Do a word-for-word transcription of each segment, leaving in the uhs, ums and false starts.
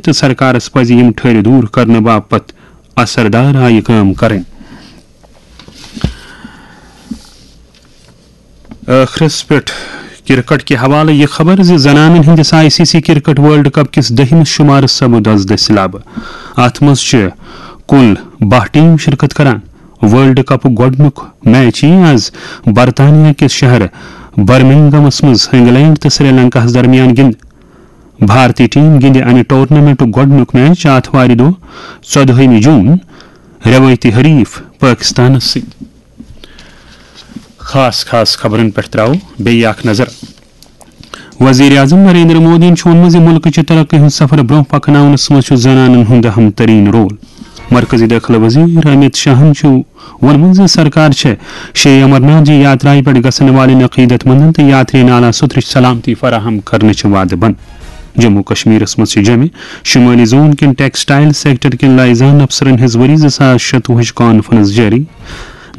تہٕ سرکارس پزِ یِم ٹھٔرۍ دوٗر کرنہٕ باپتھ اثردار آیہِ کٲم کرٕنۍ۔ ٲخرس پٮ۪ٹھ کرکٹ کہِ حوالہٕ یہِ خبر زِ زنانن ہٕنٛدِس I C C cricket world cup کِس دٔہمِس شُمارس سپُد از دٔسِلابہٕ۔ اتھ منٛز چھِ کُل باہ ٹیم شرکت کران۔ ورلڈ کپُک گۄڈٕنیُک میچ یِیہِ از برطانیہ کِس شہر برمنگمس منٛز انگلینڈ تہٕ سری لنکاہس درمیان گِنٛدنہٕ۔ بھارتی ٹیم گِنٛدِ امہِ ٹورنامنٹُک گۄڈٕنیُک میچ آتھوارِ دۄہ، ژۄدہٲیمہِ جون، رٮ۪وٲیتی حریف پٲکِستانس سۭتۍ۔ خاص خاص خبرن پٮ۪ٹھ ترٛاوو بیٚیہِ اکھ نظر۔ وزیر اعظم نریندر مودیَن چھُ ووٚنمُت زِ مُلکٕچہِ ترقی ہُنٛد سفر برٛونٛہہ پکناونس منٛز چھُ زنانن ہُنٛد اہم ترین رول۔ مرکزی دٲخلہٕ وزیر امیت شاہن چھُ ووٚنمُت زِ سرکار چھےٚ شری امرناتھ جی یاترایہِ پٮ۪ٹھ گژھن والٮ۪ن عقیدت مندن تہٕ یاترین اعلیٰ سُترٕچ سلامتی فراہم کرنٕچ وعدٕ بنٛد۔ جموں کشمیرس منٛز چھِ جمع شمٲلی زون کٮ۪ن ٹیکسٹائل سیکٹر کٮ۪ن لائزان افسرن ہٕنٛز ؤری زٕ ساس شتوُہٕچ کانفرنس جٲری۔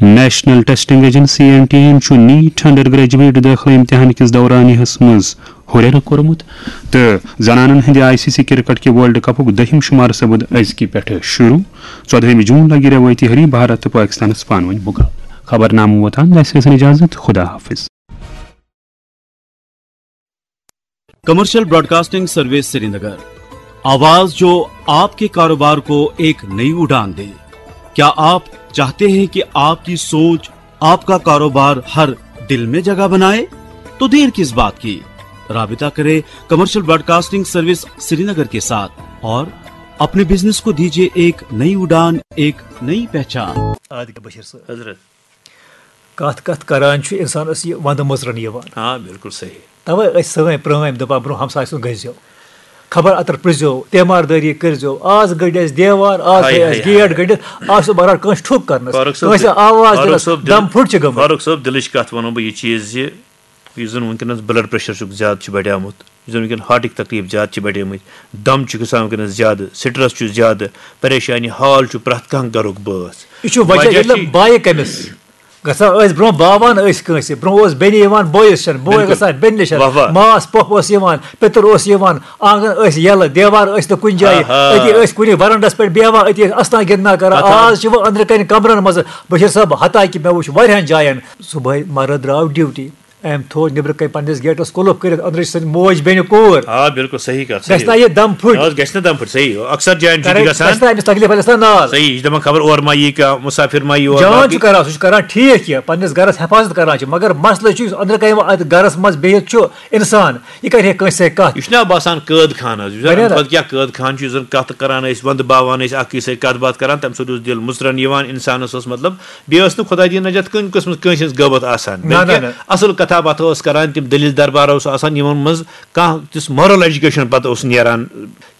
National testing agency, N T A, چھُ نیٹ انڈر گریجویٹ دٲخلہٕ امتحان کِس دورانیہس منٛز ہُرٮ۪ر کوٚرمُت تہٕ زنانن ہٕنٛدِ آئی سی سی کرکٹ کہِ ورلڈ کپُک دٔہِم شُمار سپُد أزکہِ پٮ۪ٹھٕ شروع۔ ژۄدہٲیمہِ جون لگہِ رٮ۪وٲیتی حریف بھارت تہٕ پٲکِستانس پانہٕ ؤنۍ مُقابلہٕ۔ خبرنامہٕ ووت اند، اَسہِ ٲسِن اجازت، خدا حافظ۔ کمرشل براڈکاسٹنگ سروس سرینگر، آواز جو آپ کے کاروبار کو ایک نئی اڑان دے۔ کیا آپ چاہتے ہیں کہ آپ کی سوچ، آپ کا کاروبار ہر دل میں جگہ بنائے؟ تو دیر کس بات کی؟ رابطہ کرے کمرشل براڈکاسٹنگ سروس سرینگر کے ساتھ اور اپنے بزنس کو دیجیے ایک نئی اڑان، ایک نئی پہچان۔ آد بشیر صٲب۔ حضرت۔ کتھ کتھ کران چھُ انسانس یہِ ونٛدٕ مٕژرن یِوان۔ آ، بِلکُل صحیح۔ توے ٲسۍ سٲنۍ پرٲنۍ دپان برونٛہہ ہمسایہِ سُنٛد گٔژھۍ زیو۔ خبر اتر پرٛژھ زیو، تیمار دٲری کٔرۍ زیو۔ آز گٔنٛڈۍ اَسہِ دیوار، آز ہاے، تھٲے ہاے، اَسہِ گیٹ ہاے۔ گٔنٛڈِتھ، آز چھُ بہرحال کٲنٛسہِ ٹھُک کرنس، ہاے۔ فاروق صٲب، کٲنٛسہِ آواز فاروق دِنس، صٲب، دِل-، دم پھُٹ چھِ گٔمٕتۍ۔ فاروق صٲب، دِلٕچ کتھ ونو بہٕ یہِ چیٖز زِ یُس زن وٕنکیٚنس بلڈ پریشر چھُ زیادٕ چھُ بڑیومُت، یُس زن وٕنکیٚن ہارٹٕکۍ تکلیٖف زیادٕ چھِ بڑیمٕتۍ، دم چھُ گژھان وٕنکیٚنس زیادٕ، سٹرس چھُ زیادٕ، پریشانی حال چھُ پرٛٮ۪تھ کانٛہہ گرُک بٲژ۔ یہِ چھُ وجہ، وجہ ییٚلہِ چھُ نہٕ بایہِ کٔمِس گژھان ٲسۍ برونٛہہ باوان ٲسۍ کٲنٛسہِ، برونٛہہ اوس بیٚنہِ یِوان بٲیِس چھَنہٕ، بوے بِلکُل۔ گژھان بیٚنہِ نِش، واہ واہ۔ ماس پۄپھ اوس یِوان، پِتُر اوس یِوان، آنٛگن ٲسۍ یَلہٕ، دیوار ٲسۍ نہٕ کُنہِ جایہِ، آہا۔ أتی ٲسۍ کُنہِ ورنڈس پٮ۪ٹھ بیٚہوان، أتی ٲسۍ اَسنان گِنٛدنان کران۔ پَتہٕ آز چھِ وۄنۍ أنٛدرٕ کَنہِ کمرن منٛز۔ بشیٖر صٲب، حتیٰ کہِ مےٚ وٕچھ واریاہن جاین، صُبحٲے مرد درٛاو ڈیوٹی، أمۍ تھوو نیٚبرٕ کَنہِ پنٛنِس گیٹَس قُلُف کٔرِتھ، أنٛدرٕ چھِ سٕنٛدۍ موج بیٚنہِ کوٗر۔ آ، بِلکُل صحیح کَتھ، گژھِ صحیح۔ نا یہِ دم پھٕٹۍ؟ نہ حظ، گژھِ نہٕ دم پھٕٹۍ، صحیح۔ اکثر جایَن چھُ تہِ کَرِ-، گژھان۔ گژھِ نا أمِس تکلیٖف، اَتہِ آسہِ نا نار۔ صحیح، یہِ چھِ دَپان خبر اورٕ ما یی کانٛہہ مُسافِر ما یی اور جان باقٕے۔ چھُ کَران، سُہ چھُ کَران ٹھیٖک یہِ، پنٛنِس گَرَس حفاظت کَران چھُ، مگر مسلہٕ چھُ یُس أنٛدرٕ کَنہِ وۄنۍ اَتھ گَرَس منٛز بِہِتھ چھُ اِنسان، یہِ کَرِ ہے کٲنٛسہِ سۭتۍ کَتھ؟ یہِ چھُنہ باسان قٲد خانہٕ حظ، یُس زَن بَنہِ اَمہِ نا؟ کھۄتہٕ کیٛاہ قٲد خانہٕ چھُ، یُس زَن کَتھ کَران ٲسۍ، وَندٕ باوان ٲسۍ، اَکھ أکِس سۭتۍ کَتھ باتھ کَران، تَمہِ سۭتۍ اوس دِل مُژران یِوان اِنسانَس، اوس مطلب بیٚیہِ ٲس نہٕ خۄداے دِیِن نجات کُنہِ قٕسمٕچ کٲنٛسہِ ہٕنٛز غٲبت آسان، نہ، نہ، بلکہِ نہ۔ اَصٕل کَتھا باتھا ٲس کَران، تِم دٔلیٖل دربار اوس آسان، یِمَن منٛز کانٛہہ تِژھ moral education پَتہٕ اوس نیران،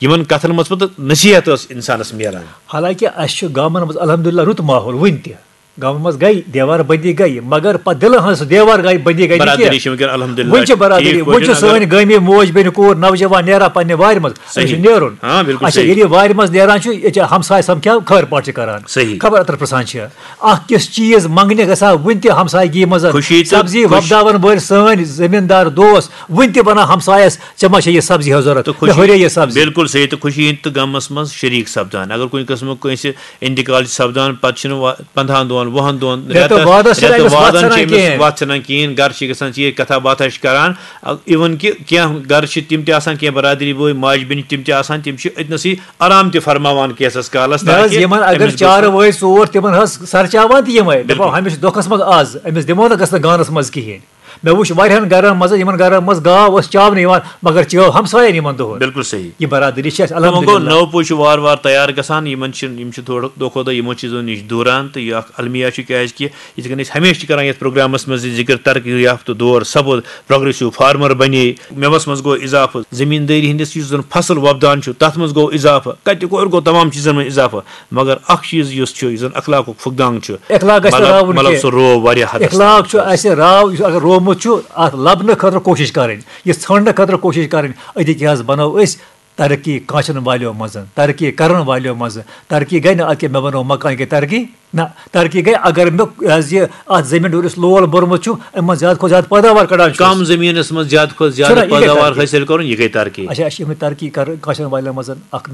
یِمَن کَتھَن منٛز پَتہٕ نصیٖحت ٲس اِنسانَس میلان۔ حالانکہِ اَسہِ چھُ گامَن منٛز الحمدللہ رُت ماحول وٕنہِ تہِ۔ گامَن منٛز گٔے دیوار بندی گٔے، مگر پَتہٕ دِلہٕ ہٕنٛز سُہ دیوار گٔے بندی گٔے نہٕ برادٔری کینٛہہ۔ چھِ وٕنکیٚن الحمدللہ وٕنہِ چھِ برادٔری، ٹھیٖک وٕنہِ چھِ پٲٹھۍ، سٲنۍ اگر گٲمی موج بیٚنہِ کوٗر نوجوان نیران پننہِ وارِ منٛز، أمِس چھُ صحیح۔ نیرُن۔ آ، بِلکُل اچھا، صحیح۔ ییٚلہِ یہِ وارِ منٛز نیران چھُ، ییٚتہِ چھِ ہمساے سمکھان، خٲر پاٹھ چھِ کران۔ صحیح۔ خبر اتر پرژھان چھِ۔ اکھ کِژھ چیٖز منٛگنہِ گژھان وٕنہِ تہِ ہمسایگی منٛز۔ خوشی تہٕ سبزی خوش- وۄپداون وٲلۍ سٲنۍ زٔمیٖندار دوس وٕنہِ تہِ ونان ہمسایس، "ژےٚ ما چھےٚ یہِ سبزی ہٕنٛز ضروٗرت؟ تہٕ مےٚ خوشی، ہُرے یہِ سبزی۔" بِلکُل صحیح۔ تہٕ خوشی ہٕنٛدۍ تہٕ غمس منٛز شریٖک سپدان۔ اگر کُنہِ قٕسمُک کٲنٛسہِ انتقال چھُ سپدان، پتہٕ چھِنہٕ وا-، پنٛدہَن دۄہَن، وُہَن دۄہَن، رٮ۪تہٕ رٮ۪تَس، وادَس چھِنہٕ رٮ۪تہٕ أمِس وادَن وَتھ چھِ سَنان أمِس کِہیٖنۍ۔ وَتھ سَنان کِہیٖنۍ۔ گَرٕ چھِ گژھان ژیٖرۍ، کَتھا باتھا چھِ کَران۔ اَ-، اِوٕن کہِ کینٛہہ گَرٕ چھِ تِم تہِ آسان، کینٛہہ بَرادٔری بٲے، ماجہِ بیٚنہِ تِم تہِ آسان، تِم چھِ أتنَسٕے آرام تہِ فرماوان کینٛژَس کالَس، نہ حظ، تاکہِ یِمَن اگر أمِس گوٚژھ نہٕ چارٕ وٲے ژور، تِمَن حظ سَرچاوان تہِ یِمَے، دَپان، بِلکُل۔ ہُمِس چھِ دۄکھَس منٛز آز، أمِس دِمو نہٕ گژھنہٕ گانَس منٛز کِہیٖنۍ۔ مےٚ وُچھ واریاہن گرن منٛز، یِمن گرن منٛز گاو ٲس چاونہٕ یِوان، مگر چٲو ہمساین یِمن دۄہن۔ بِلکُل صحیح۔ یہِ برادری چھِ اَسہِ وۄنۍ گوٚو، الحمدللہ۔ نٔو پُے چھُ وارٕ وارٕ تیار گژھان، یِمن چھِ، یِم چھِ تھوڑا دۄہ کھۄتہٕ دۄہ یِمو چیٖزو نِش دوٗران، تہٕ یہِ اکھ المیہ چھُ، کیازِ کہِ یِتھ کٔنۍ أسۍ ہمیشہِ چھِ کران یَتھ پروگرامس منٛز زِ ذِکر، ترقی یافتہٕ دور سپُد، پروگریسو فارمر بنے، مٮ۪وس منٛز گوٚو اضافہٕ، زٔمیٖندٲری ہٕنٛدِس یُس زن فصل وۄپدان چھُ، تتھ منٛز گوٚو اضافہٕ، کتہِ کورِ گوٚو تمام چیٖزن منٛز اضافہٕ۔ مگر اکھ چیٖز یُس چھُ، یُس زن اخلاقُک فقدان چھُ، اخلاق گژھِ نہٕ مطلب، راوُن مطلب کینٛہہ۔ سُہ روو واریاہ حدس اخلاق تام۔ چھُ اَسہِ راو، یُس اگر روومُت چھُ، اَتھ لبنہٕ خٲطرٕ کوٗشِش کَرٕنۍ، یہِ ژھانٛڈنہٕ خٲطرٕ کوٗشِش کَرٕنۍ۔ أتی کیٛاہ حظ بَنو أسۍ ترقی کانٛچَن والیو منٛز، ترقی کَرَن والیو منٛز۔ ترقی گٔے نہٕ اَتھ کہِ مےٚ بَنوو مکان کہِ ترقی، نہ، ترقی گٔے اگر مےٚ، یہِ حظ یہِ اَتھ زٔمیٖن ڈوٗرِس لول بوٚرمُت چھُ، اَمہِ منٛز زیادٕ کھۄتہٕ زیادٕ پٲداوار کَڑان چھُ کم أسۍ۔ زٔمیٖنَس منٛز زیادٕ کھۄتہٕ زیادٕ چھُنہ یہِ گٔے پٲداوار ترقی۔ حٲصِل کَرُن، یہِ گٔے ترقی۔ اچھا، اَسہِ چھِ یِمَے ترقی کَرٕنۍ کانٛچَن والیو منٛز اَکھ۔